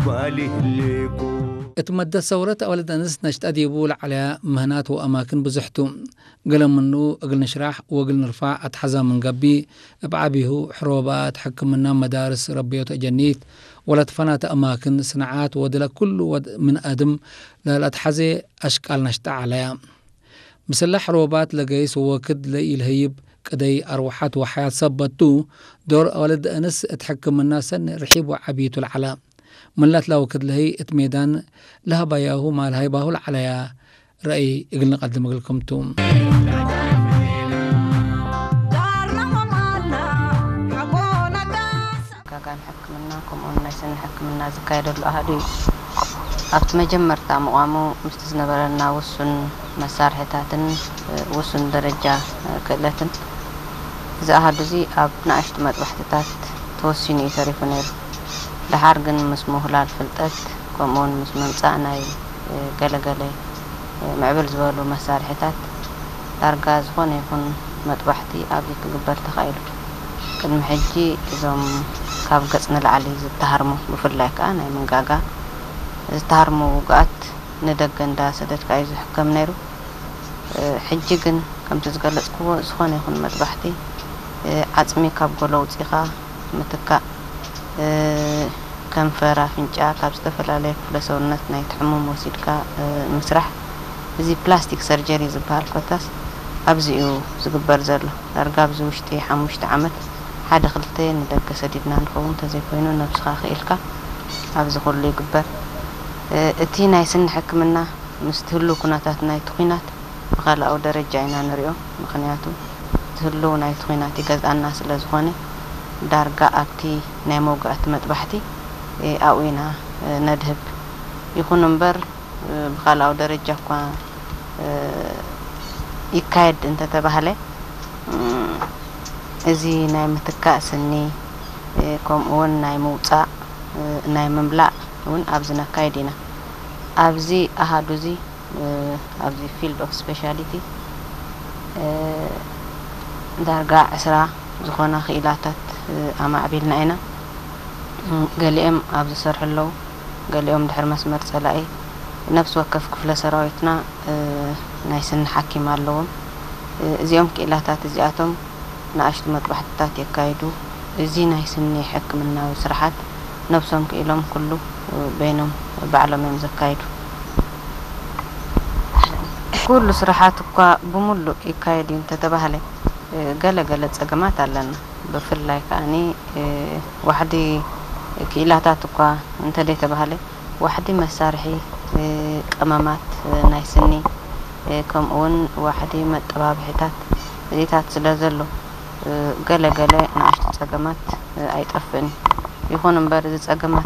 ጓል ይህልኩ። እቲ መደት ሰውረት ኣዋልድ ኣንስት ነሽጣ ዲቡ ለዓለያ ምህናት ወኣማክን ብዙሕቱ። ገለ ምኑ እግል ንሽራሕ ወእግል ንርፋዕ ኣትሓዛ ምን ገቢ፣ እብ ዓቢሁ ሕሮባት፣ ሕክምና፣ መዳርስ፣ ረብዮት ኣጀኒት፣ ወለትፈናተ ኣማክን፣ ስነዓት ወድለ ኩሉ ወድ ምን ኣድም ለለትሓዜ ኣሽቃል ነሽጣ ዓለያ። ምስላ ሕሮባት ለገይስ ወክድ ለኢልህይብ ቅደይ ኣርወሓት ወሓያት ሰበቱ፣ ዶር ኣዋልድ ኣንስ እት ሕክምና ሰኒ ርሒብ ወዓቢቱ ለዓላ። ምን ላትላወክድ ለህይ እት ሜዳን ለሀባያሁ ማል ሃይባሁ ለዓለያ ረእይ እግል ንቀድም እግልክምቱ። ጋጋን ሕክምና ከምኡውን ናይ ስኒ ሕክምና ዝካየደሉ ኣሃዱ እዩ። ኣብቲ መጀመርታ ምቋሙ ምስቲ ዝነበረና ውሱን መሳርሕታትን ውሱን ደረጃ ክእለትን እዚ ኣሃዱ እዚ ኣብ ንኣሽቱ መጥባሕትታት ተወሲኑ እዩ ተሪፉ ነይሩ። ደሓር ግን ምስ ምሁላል ፍልጠት ከምኡውን ምስ ምምጻእ ናይ ገለገለ ምዕብል ዝበሉ መሳርሒታት ዳርጋ ዝኾነ ይኹን መጥባሕቲ ኣብዚ ክግበር ተኻኢሉ። ቅድሚ ሕጂ እዞም ካብ ገጽ ንላዕሊ ዝተሃርሙ ብፍላይ ከኣ ናይ መንጋጋ ዝተሃርሙ ውጉኣት ንደገ እንዳሰደድካ እዩ ዝሕከም ነይሩ። ሕጂ ግን ከምቲ ዝገለጽክዎ ዝኾነ ይኹን መጥባሕቲ ዓጽሚ ካብ ጎሎ ኣውጺኻ ምትካእ፣ ከንፈር፣ ኣፍንጫ ካብ ዝተፈላለየ ክፍለ ሰውነት ናይቲ ሕሙም ወሲድካ ምስራሕ፣ እዚ ፕላስቲክ ሰርጀሪ ዝበሃል ኮታስ ኣብዚ እዩ ዝግበር ዘሎ። ዳርጋ ኣብዚ ውሽጢ ሓሙሽተ ዓመት ሓደ ክልተ ንደገ ሰዲድና ንኸውን፣ እንተዘይኮይኑ ነብስኻ ክኢልካ ኣብዚ ኩሉ ይግበር። እቲ ናይ ስኒ ሕክምና ምስቲ ህሉው ኩነታት ናይቲ ኲናት ብኻልኣዊ ደረጃ ኢና ንሪኦ። ምኽንያቱ እቲ ህሉው ናይቲ ኲናት ይገዝኣና ስለ ዝኾነ፣ ዳርጋ ኣብቲ ናይ መውጋእቲ መጥባሕቲ ኣብኡ ኢና ነድህብ። ይኹን እምበር ብኻልኣዊ ደረጃ እኳ ይካየድ እንተተባህለ፣ እዚ ናይ ምትካእ ስኒ ከምኡ እውን ናይ ምውፃእ ናይ ምምላእ እውን ኣብዚ ነካይድ ኢና። ኣብዚ ኣሃዱ እዚ ኣብዚ ፊልድ ኦፍ ስፔሻሊቲ ዳርጋ ዕስራ ዝኾና ክኢላታት ኣማዕቢልና ኢና። ገሊኦም ኣብ ዝሰርሑ ኣለዉ፣ ገሊኦም ድሕሪ መስመር ጸላኢ። ነፍሲ ወከፍ ክፍለ ሰራዊትና ናይ ስኒ ሓኪም ኣለዎም። እዚኦም ክኢላታት እዚኣቶም ንኣሽቱ መጥባሕትታት የካይዱ። እዚ ናይ ስኒ ሕክምናዊ ስራሓት ነብሶም ክኢሎም ኩሉ በይኖም ባዕሎም እዮም ዘካይዱ። ኩሉ ስራሓት እኳ ብምሉእ ይካየድ እዩ እንተተባህለ፣ ገለ ገለ ጸገማት ኣለና። ብፍላይ ከኣኒ ዋሕዲ ክኢላታት እኳ እንተደይተባህለ፣ ዋሕዲ መሳርሒ ቀመማት ናይ ስኒ፣ ከምኡውን ዋሕዲ መጠባብሒታት እዚታት ስለ ዘሎ፣ ገለ ገለ ንኣሽቱ ጸገማት ኣይጠፍእን እዩ። ይኹን እምበር፣ እዚ ጸገማት